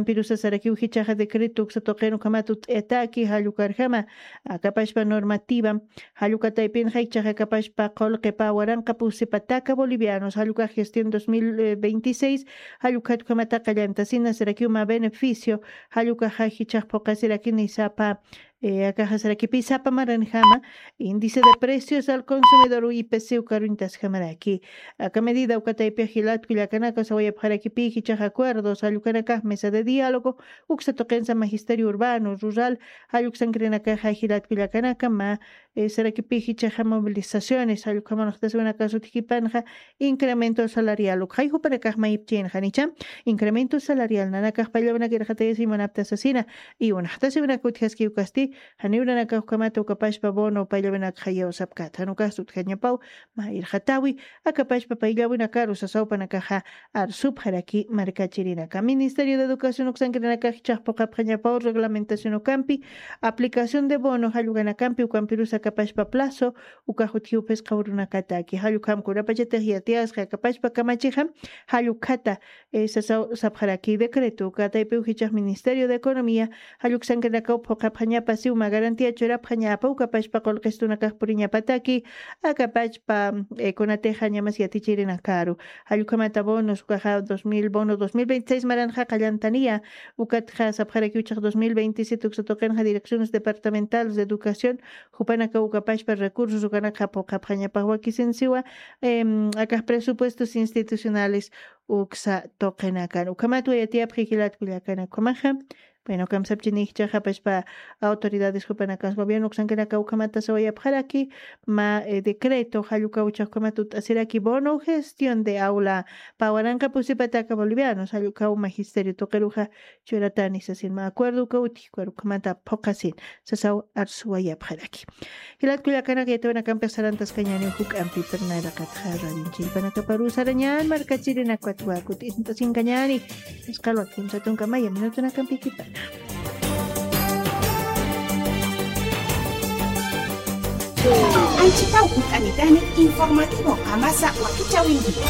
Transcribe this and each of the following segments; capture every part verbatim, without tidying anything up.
Pirusa sarakiw jichhaxa decreto uksa tuqin ukhamat ut'ayataki jall ukarjama akapashpa normativa jall uka taypinxa jichhaxa akapashpa qullqipa waranqa pusi pataka bolivianos jall ukax gestión dos mil veintiséis jall ukat ukhamata qallantasina sarakiw mä beneficio jall ukaxa jichhax phuqasirakini sapa akaxa sarakipi sapa maranjama índice de precios al consumidor ipc ukaruñtasjamaraki. Aka medida uka taypix jilatku llakanaka sawayapxarakipï jichhax acuerdos jall ukanakax mesa de diálogo uksa tuqinsa magisterio urbano rural jall uksankirinakaxa jilatku llakanaka mä sarakipï jichhaxa movilizaciones jall ukhamanxtasiwinakasut jipanxa incremento salarial ukxay jupanakax mayipchinxa nicha incremento salarial nanakax payllawinak irxatayasiñ munapta sasina. Y unaxtasiwinak utjaskiw kasti janiw nanakax ukhamata ukapashpa bono payllawinakxa yawsapkata jan ukasti utjañapaw mä irxatawi akapashpa payllawinakaru sasawpanakaxa arsupxaraki markachirinaka ministerio de educación uksankirinakax jichhax phuqapxañapaw reglamentación ukampi aplicación de bono jall ukanakampi ukampirus akapashpa plazo ukax utjiw phisqa urunakataki jall ukham kunapachatix yatiyasxa akapashpa kamachixa jall ukhata sasaw sapxaraki decreto uka taypiw jichhax ministerio de economía jall uksankirinakaw phuqapxañapa siw mä garantía churapxañapa ukapashpa qullqistunakax puriñapataki akapachpa kunatixa ñamas yatichirinakaru jall ukhamata bonos ukaxa dos mil bono dos mil veintiséis maranxa qallantaniya ukatxa sapxarakiw jichhax dos mil veintisiete uksa tuqinxa direcciones departamentales de educación jupanakaw ukapashpa recursos ukanakxa phuqapxañapax wakisin siwa akax presupuestos institucionales uksa tuqinakan ukhamat wayatiyapxi jilatku llakanaka ukhamaxa. Bueno, kamsapchini jichhaxa pashpa autoridades jupanakas gobierno uksankinaka ukhamata sawayapxaraki mä decreto jall ukaw jichhax ukhamat ut'asiraki bono gestión de aula pä waranqa pusipataka bolivianos jall ukaw magisterio tuqiruxa churatani sasin mä acuerdo ukaw utji ukar ukhamata phuqasin sasaw arsuwayapxaraki. Jilat kullakanaka yatiyawinakampix sarantaskañäniw juk'ampi pirnayrakatxa radionchillpanakaparu sarañän markachirinakwatwa kut'isint'asinkañäni. Isqalwa kimsa tunka maya minutunakampikipana. Anchitaw kut'anitani informativo qamasa wakichawinkiwa.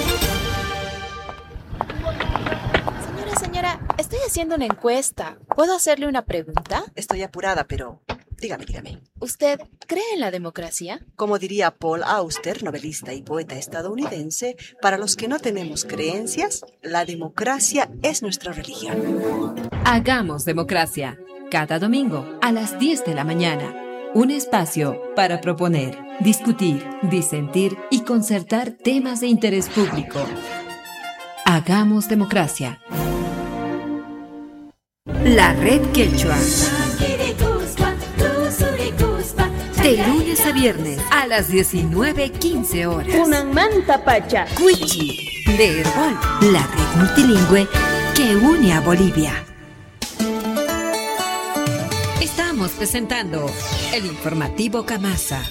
Señora, señora, estoy haciendo una encuesta. ¿Puedo hacerle una pregunta? Estoy apurada, pero dígame, dígame. ¿Usted cree en la democracia? Como diría Paul Auster, novelista y poeta estadounidense, para los que no tenemos creencias, la democracia es nuestra religión. Hagamos democracia. Cada domingo a las diez de la mañana. Un espacio para proponer, discutir, disentir y concertar temas de interés público. Hagamos democracia. La Red Quechua. De lunes a viernes a las diecinueve quince horas. Kunanmantapacha. Cuichi, de Erbol, la red multilingüe que une a Bolivia. Estamos presentando el informativo Kamasa.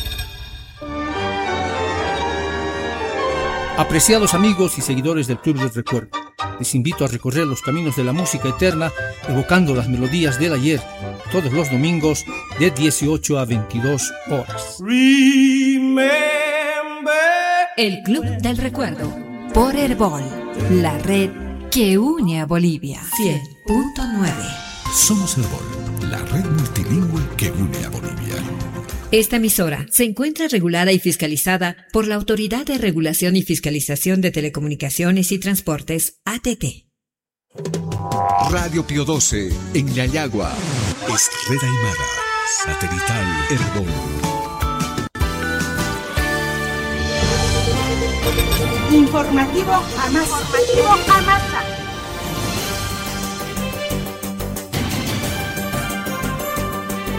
Apreciados amigos y seguidores del Club del Recuerdo, les invito a recorrer los caminos de la música eterna, evocando las melodías del ayer, todos los domingos de dieciocho a veintidós horas. Remember. El Club del Recuerdo, por Erbol, la red que une a Bolivia. Cien punto nueve. Somos Erbol, la red multilingüe que une a Bolivia. Esta emisora se encuentra regulada y fiscalizada por la Autoridad de Regulación y Fiscalización de Telecomunicaciones y Transportes, A T T. Radio Pío doce, en Llallagua. Es red aymara, satelital Erbol. Informativo Amasa. Informativo Amasa.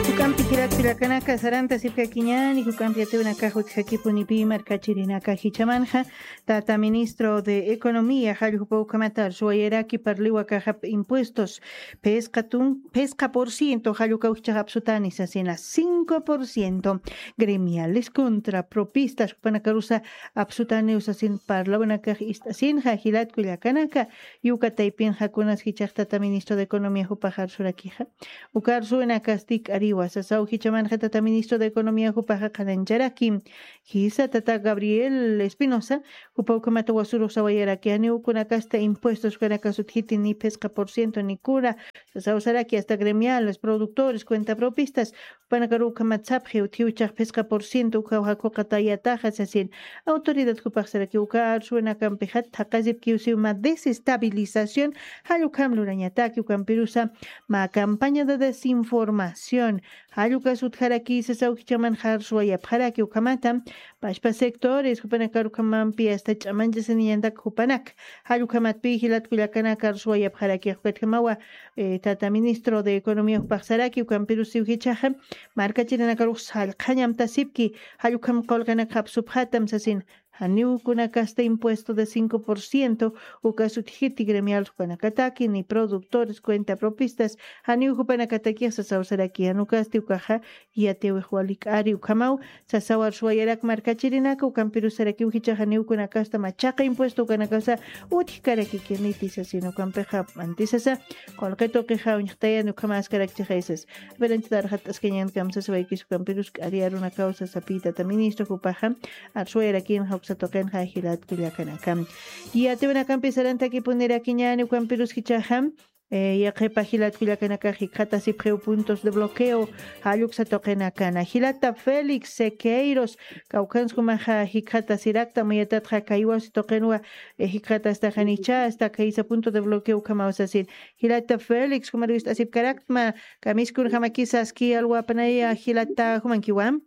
Jukampi jilat kullakanaka saranta sipkakiñäni, jukampi yatiyawinakax utjakipunipi markachirinaka jichhamanxa, tata ministro de Economía, jalljupa ukhamata arsuwayaraki parliwa caja impuestos, phisqa tun-, phisqa por ciento, jallukaw jichhax apsutani sasina, cinco por ciento, gremiales contra propistas, jupanakarusa apsutani sasin parlawinakax ist'asinxa, jilat kullakanaka, uka taypinxa kunas jichhax tata ministro de Economía jupax arsurakixa. Uka arsuwinakasti k'ariwa, sasaw Jichamanxa tata ministro de Economía jupaxa qhanañcharaki. Jisa tata Gabriel Espinosa, jupa ukhamata wasurux sawayaraki, janiw kunakasta impuestos ukanakasut jiti ni phisqa por ciento ni kuna, sasawsaraki hasta gremiales, productores, cuenta propistas, jupanakaru ukhamat sapxi, utjiw chax phisqa por ciento ukhaw jakuqatayataxa sasin. Autoridad jupaxsaraki uka arsuwinakampixat thaqasipkiw siw mä desestabilización, jall ukham lurañataki, ukampirusa mä campaña de desinformación, jall ukas utjaraki sasaw jichamanxa arsuwayapxaraki ukhamata, pachpa sectores, jupanakar ukhamampi hasta ch'amanchasiniñantak jupanak, jall ukhamatpï jilat kullakanaka arsuwayapxaraki, ukatjamawa, eh, tata ministro de Economía jupaxsaraki, ukampirusiw jichaxa, markachirinakarux sallqhañamtasipki, jall ukham qullqinakxapsupxatam sasin, janiw kunakasta impuesto de cinco por ciento, ukas utjiti gremial jupanakataki, ni productores, cuenta propistas, janiw jupanakatakix sasawsaraki, jan ukasti ukaxa, yatiwix wali k'ari ukhamaw, sasawar suwayarak markachirinaka, ukampirusarakiw jichaxa janiw kunakasta machaqa impuesto ukanakasa utjkarakikirniti sasin, ukampixa antisasa, qullqi tuqixa uñjtayan ukhamaskarakchixaysas. Pero anchita arxat'askañan kamsasawaykisu, ukampirus k'ari arunakaw sasapï tata ministro jupaxa, arsuwayarakinxa uksa tuqinxa jilat kullakanaka. Yatiwinakampi sarantakipunirakiñäni, ukampirus jichaxa, eh, yaqhipa jilat kullakanakax jikxatasipxiw puntos de bloqueo, jall uksa tuqinakana. Jilata Félix Sequeiros, kawkhansa jumaxa jikxatasirakta, mayatatxa kaywasi tuqinwa, eh, jikxatastaxanicha, hasta kaysa punto de bloqueo ukhamaw sasin. Jilata Félix, jumar wist'asipkaraktma, kamiskunjamakisa aski alwapanaya jilata, jumankiwa.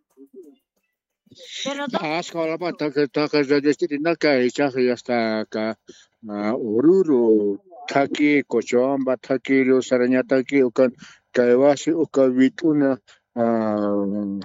Askha walapa taqi taqi radiostirinaka, ichaxa yasta aka, ah, Oruro thaki, Cochabamba thaki, Río Saraña thaki, ukan kaywasi uka wit'una, ah,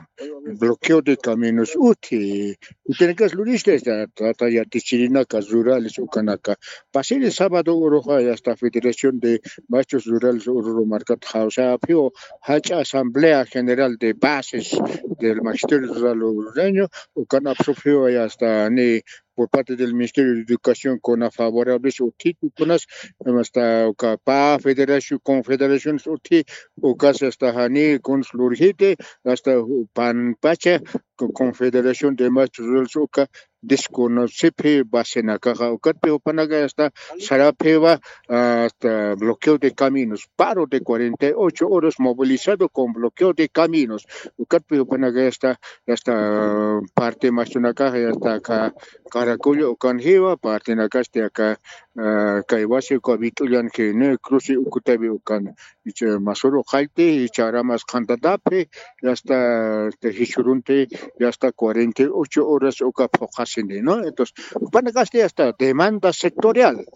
bloqueo de caminos utji. Utjinakas lurista, esta, tata yatichirinaka rurales ukanaka. Pasiri sábado uruxa, yasta Federación de Maestros Rurales Oruro markat jawsapxiw, jach'a Asamblea General de Bases del Magisterio Rural Orureño, ukan apsupxiw, yasta ni por parte del Ministerio de Educación kuna favorables utji, kunas, hasta uka pä federación, confederaciones utji, ukas hasta jani kuns lurjiti, hasta panpacha, co-, Confederación de Maestros Rurales uka desconocipxi basenakaxa, ukatpi jupanaka hasta sarapxiwa, hasta bloqueo de caminos, paro de cuarenta y ocho horas movilizado con bloqueo de caminos, ukatpi jupanaka hasta, hasta parte maestronakas, hasta aka Caracollo ukan jiwa, partenakasti aka, ah, kaywasi uka wit'ullan jini, cruce ukutawi ukan, icha masuru qallti, icha aramas qhantatapxi, y hasta, este, jichhürunti, y hasta cuarenta y ocho horas uka phuqhasini, ¿no? Entonces, jupanakasti hasta demanda sectorial.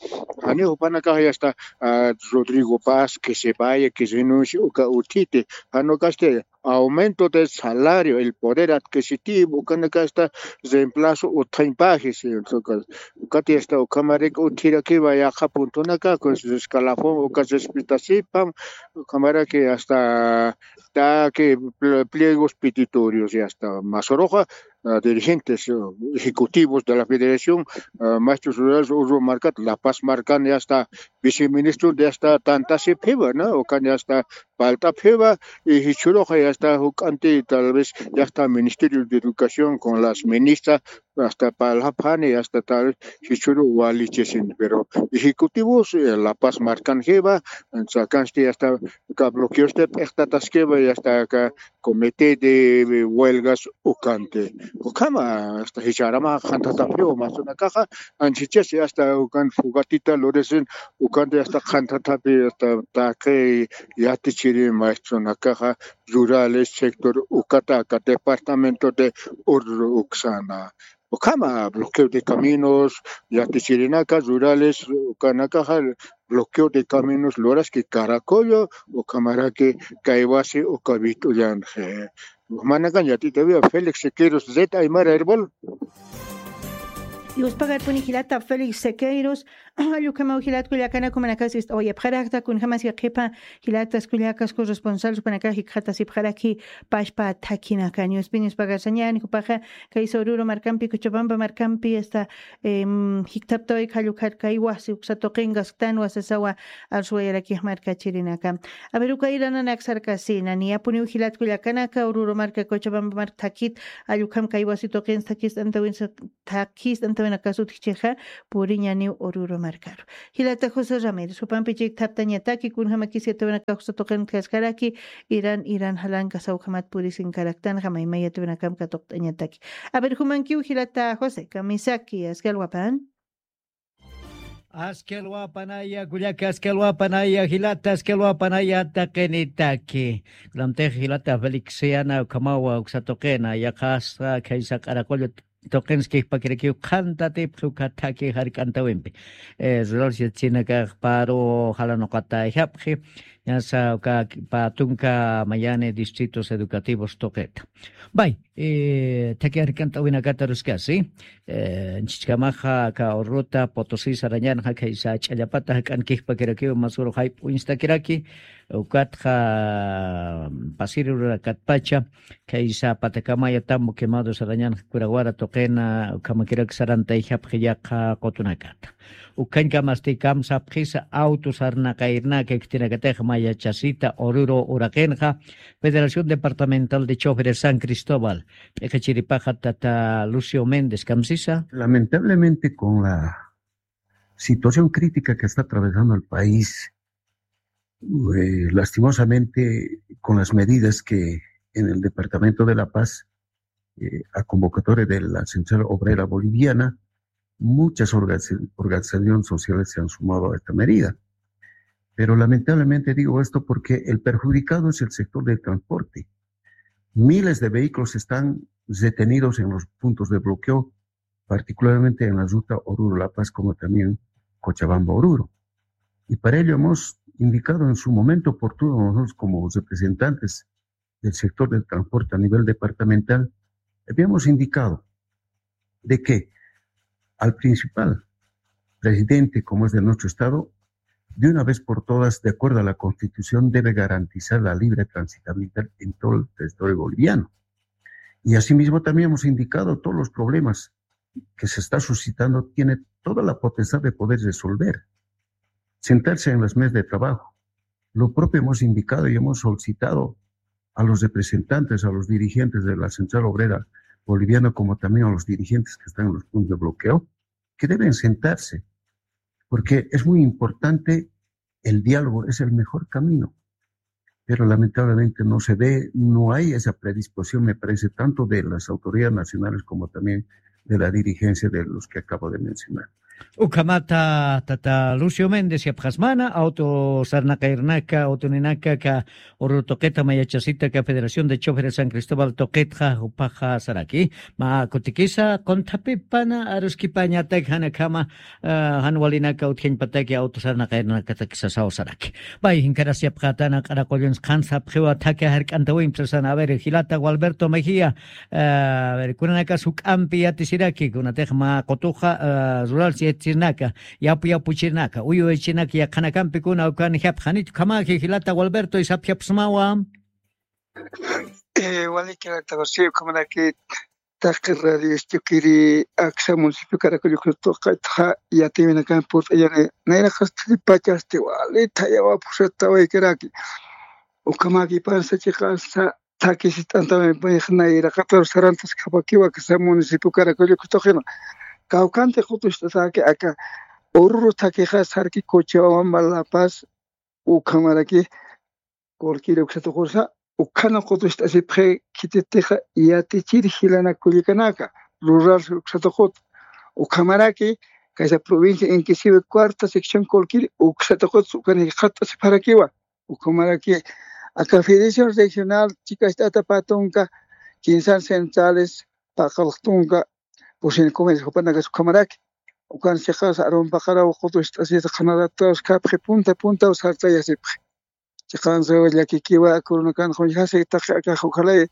Jani jupanakax hasta, ah, Rodrigo Paz, que se vaya, que renuncie, uka utjiti. Jan ukasti aumento del salario, el poder adquisitivo, ukanakasti reemplazo utjañpaji, sí, uka, ukati hasta ukhamarak utjirakiwa yaqha puntonaka, con su escalafón, uka respetasipam, ukhamaraki hasta taqi pl-, pliegos petitorios, y hasta masuruxa, ah, dirigentes, eh, ejecutivos de la Federación, ah, Maestros Rurales Oruro markat, La Paz markan, y hasta viceministro de hasta tantasipxiwa, ¿no? Ukan hasta palt'apxiwa, y jichhüruxa, y hasta juk'anti, tal vez, y hasta Ministerio de Educación con las ministras, hasta parlapxani, hasta tal vez, jichhüru walichisin, pero ejecutivos, eh, La Paz markan jiwa, sakansti hasta aka bloqueosti p'iqtataskiwa, y hasta aka comité de huelgas ukanti. Ukhama, hasta jichha aramaxa qhantatapxiwa, mastunakaxa, anchichasi hasta ukan fugatita lurisin, ukanti hasta qhantatapxi, hasta taqi yatichiri maestronakaxa, rurales, sector ukata, aka departamento de Oruro uksana. Ukhama, bloqueo de caminos, yatichirinaka, rurales, ukanakaxa, bloqueo de caminos, luraski Caracollo, ukhamaraki kaywasi, uka wit'ullanxa. Manakan yatitawiwa Félix Sequeiros, Red Aymara Herbol. Yuspagarpuni jilata Félix Sequeiros, allukhamaw jilat kullakana kumanakasist oyapxarakta kunjamas yaqhipa jilatas kullakas corresponsal supanakax jikxatasipxaraki pashpa thakhinaka ñuspin yuspagarsañani jupaxa kaysa Oruro markampi Cochabamba markampi asta jikthaptaway khallukharkay wasi uksa tuqinkasktan wasasawa arsuwayarakix markachirinaka. A ver uka irananak sarkasina niyapuniw jilat kullakanaka Oruro marka Cochabamba marka thakit allukham kay wasi tuqinsa thakist'antawinsa thakist'antawinakasutkichixa puriñaniw Oruro markaru. Jilata José Ramírez jupampi chikthaptañataki kunjamakis yatawinakax usa tuqintkaskaraki iran iran jalanka sawjamat purisinkaraktanxa mayma yatawinakam katuqt'añataki. A ver jumankiw jilata José kamisaki askalwapan. Askalwapanaya kullaka askalwapanaya jilata askalwapanaya taqinitaki. Kunamtix jilata Felixiana ukhamawa uksa tuqina yaqhasa khaysa q'araqullu tuqinskixpakirakiw qhantatipxi uka thaki jark'antawimpi. Ruralsi yatsinakax paru jalanuqata ijapxi. Ñasa uka patunka mayani distritos educativos tuqita. Bay, thaki jark'antawinakata ruskasi. Nchichkamaxa aka urruta potosi sarañanxa khaysa ch'allapata jak'ankixpakirakiw masuru jayp'uñstakiraki. Ukatxa pasiri rurakatpacha khaysa patakamaya tambo quemado sarañanxa kurawara tuqina ukhamakirak sarantayjapxi yaqha qutunakata. Ukhañkamasti kamsapxisa auto sarnaqayrnaka iktinakatix mayachasita ururu uraqinxa. Federación Departamental de Choferes San Cristóbal p'iqichiripaxa tata Lucio Méndez kamsisa. Lamentablemente con la situación crítica que está atravesando el país, eh, lastimosamente con las medidas que en el departamento de La Paz, eh, a convocatoria de la Central Obrera Boliviana, muchas organizaciones sociales se han sumado a esta medida. Pero lamentablemente digo esto porque el perjudicado es el sector del transporte. Miles de vehículos están retenidos en los puntos de bloqueo, particularmente en la ruta Oruro-La Paz, como también Cochabamba-Oruro. Y para ello hemos indicado en su momento oportuno, nosotros como representantes del sector del transporte a nivel departamental, habíamos indicado de que al principal presidente, como es de nuestro Estado, de una vez por todas, de acuerdo a la Constitución, debe garantizar la libre transitabilidad en todo el territorio boliviano. Y asimismo también hemos indicado todos los problemas que se está suscitando, tiene toda la potestad de poder resolver, sentarse en las mesas de trabajo. Lo propio hemos indicado y hemos solicitado a los representantes, a los dirigentes de la Central Obrera Boliviana, como también a los dirigentes que están en los puntos de bloqueo, que deben sentarse, porque es muy importante el diálogo, es el mejor camino. Pero lamentablemente no se ve, no hay esa predisposición, me parece, tanto de las autoridades nacionales como también de la dirigencia de los que acabo de mencionar. Ukhamata tata Lucio Méndez yapxasmana auto sarnaqayrnaka autoninaka ka ururu tuqita mayachasita ka Federación de Choferes San Cristóbal tuqitxa jupaxa saraki. Ma kutikisa qunthapipan aruskipañatak janakhama jan walinaka utjañpataki auto sarnaqayrnakatakisa sawsaraki. Pay jinkaras yapxatana q'araqulluns qhan sapxiwa thaki jark'antawimpi sasana a ver jilata Gualberto Mejía. A ver kunanakas juk'ampi yatisiraki kunatix mä qutuxa rurals yatisirnaka yapu yapuchirnaka uyuyachinaka yaqhanakampi kuna ukan japxanichu ukhamaji jilata Gualberto isapjapsmawa. Walikirakta José ukhamaraki taqi radio Istuquiri aksa municipio Caracollo tuqitxa yatiwinakan purt'ayani nayraqas thiripachasti wali thayawapxsatawaykaraki. Ukhamaki pansa chiqansa thakisit'antamaypax nayraqatar sarantaskapakiwa aksa municipio Caracollo tuqina kawkanti qutucht'ataki aka ururu thakixa sarki Cochabamba La Paz ukhamaraki Qullqiri uksatuqursa ukhana qutucht'asipxi khititixa yatichir jilana kullikanaka rural uksatuqut. Ukhamaraki kaysa provincia Inquisivi cuarta sección Qullqiri uksatuqut ukan jikxat'asipxarakiwa. Ukhamaraki aka federación regional chikacht'ata patunka kinsan centrales paqalqtunka pusin comercio jupanakas ukhamaraki ukan chiqas arumpaqaraw qutucht'asita qhanarataskapxi punta puntaw sartayasipxi. Chiqansa llakikiwa kurunakan quñjasi taqi akax ujalay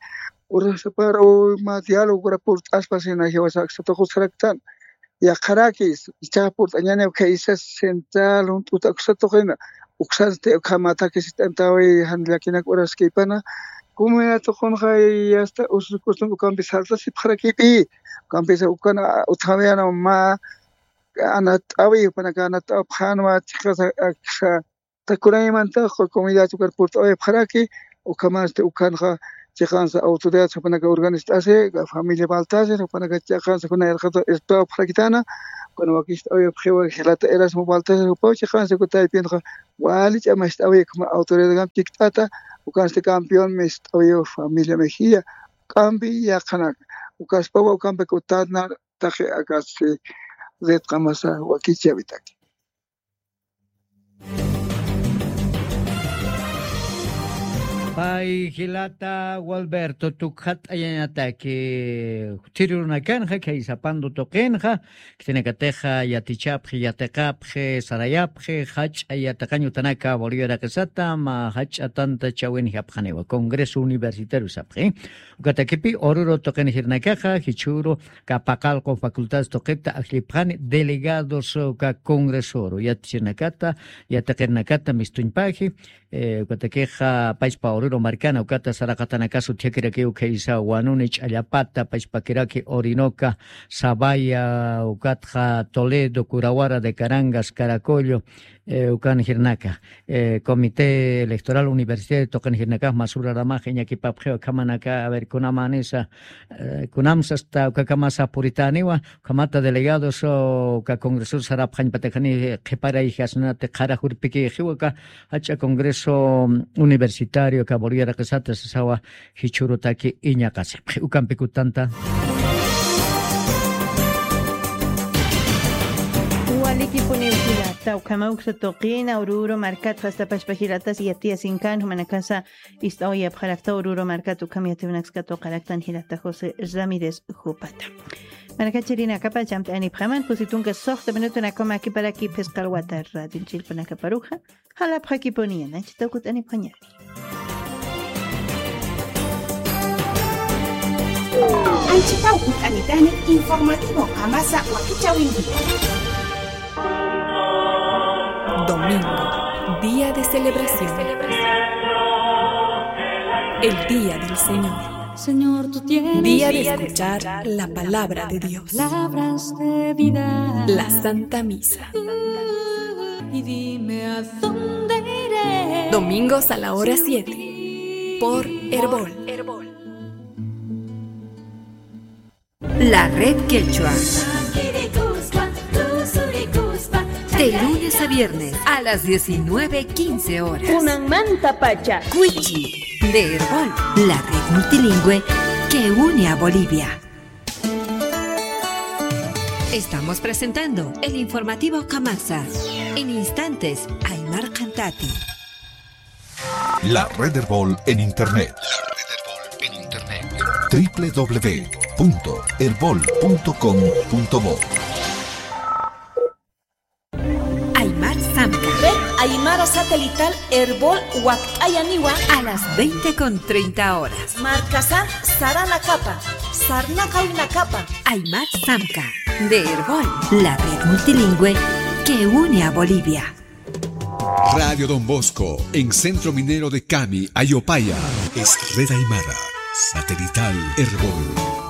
urasapar uma dialogora purt'aspa sina jiwasa aksata qusaraktan. yaqharaki, ichaxa purt'añäni ukhaysas central, junt'uta uksa tuqina, uksansti ukhamataki sist'antawi jan llakinak uraskipana, comunidad tuqunxa y hasta usus costumbre ukampi saltasipxarakipi, ukampisa ukan utjawiyana mä anat'awi, jupanaka anat'apxänwa, chiqasa aksa takunaymanta comunidad ukar purt'awayapxaraki, ukhamansti ukanxa chiqansa autoridad jupanaka organist'asi, familia Baltasar, jupanaka chiqansa kuna irqata irtawapxarakitana, kuna wakist'awayapxiwa jilata Erasmo Baltasar, jupaw chiqansa kutaypinxa wali ch'amacht'awi, ukhama autoridad chikt'ata, ukansti campeón mist'awi familia Mejía, k'ampi yaqhanaka, ukaspawa ukampi kutanar, taqi akatsi red qamasa wakichawitaki. Pay jilata Gualberto tukxat'ayañataki, jutiri runakanxa, khaysapandu tuqinxa, khitinakatixa yatichapxi, yatiqapxi, sarayapxi, jach'a yatiqañ utanaka Bolivia raqisata, mä jach'a tanta chawinjapxaniwa, Congreso Universitario sapxi. Ukatakipi Oruro tuqin jirnakaxa, jichhüru, Kapaqalqu facultades tuqita ajllipxani delegados, uh, ka congresoru, yatichirinakata, yatiqirinakata mistuñpaji, eh, ukatakixa pachpa Oruro markana, ukata saraqatanakas utjakirakiw khaysa Wanuni, Ch'allapata, pachpakiraki Orinoca, Zabaya, ukatxa Toledo, Curawara de Carangas, Caracollo, eh, ukan jirnaka, eh, Comité Electoral Universitario tuqin jirnakax masüraramax iñakipapxiw ukhamanaka, a ver, kunamänisa, eh, kunamsa hasta ukakamasa puritäniwa, ukhamata delegados, o, uka congresos sarapxañpatakani, eh, qhiparayjasnati qhara jurpikixiwa, uka jach'a congreso, mm, universitario, uka Bolivia raqisata sasawa, jichhürutaki iñaqasipxi. Ukampi kutanta. Walikipuniw jilata, ukhama uksa tuqina, Oruro markat, hasta pachpa jilatas yatiyasinkan, jumanakasa ist'awayapxarakta Oruro markat, ukham yatiwinaksa katuqaraktan jilata José Ramírez jupata. Markachirinakapach amt'anipxaman, kusitunka suxta minutunakama akiparaki phisqa alwata radio chillpunakaparuxa. Jalapxakipuniya, anchhitaw kut'anipxañäni. Anchhitaw kut'anitani informativo qamasa wakichäwintiwa. Domingo, día de celebración. El día del Señor. Señor, tú tienes vida. Día de escuchar la palabra de Dios. Palabras de vida. La Santa Misa. Y dime a dónde iré. Domingos a la hora siete, por Erbol. La Red Quechua. De lunes a viernes a las diecinueve quince horas. Kunanmantapacha. Cuichi, de Erbol, la red multilingüe que une a Bolivia. Estamos presentando el informativo Kamasa. En instantes, Aymar Cantati. La Red Erbol en Internet. La Red Erbol en Internet. W W W punto erbol punto com punto bo. Aymar Samka. Red Aymara Satelital Erbol wakt'ayaniwa. A las veinte con treinta horas. Markasan saranakapa, sarnaqawnakapa. Aymar Samka, de Erbol, la red multilingüe que une a Bolivia. Radio Don Bosco, en Centro Minero de Cami, Ayopaya. Es Red Aymara Satelital Erbol.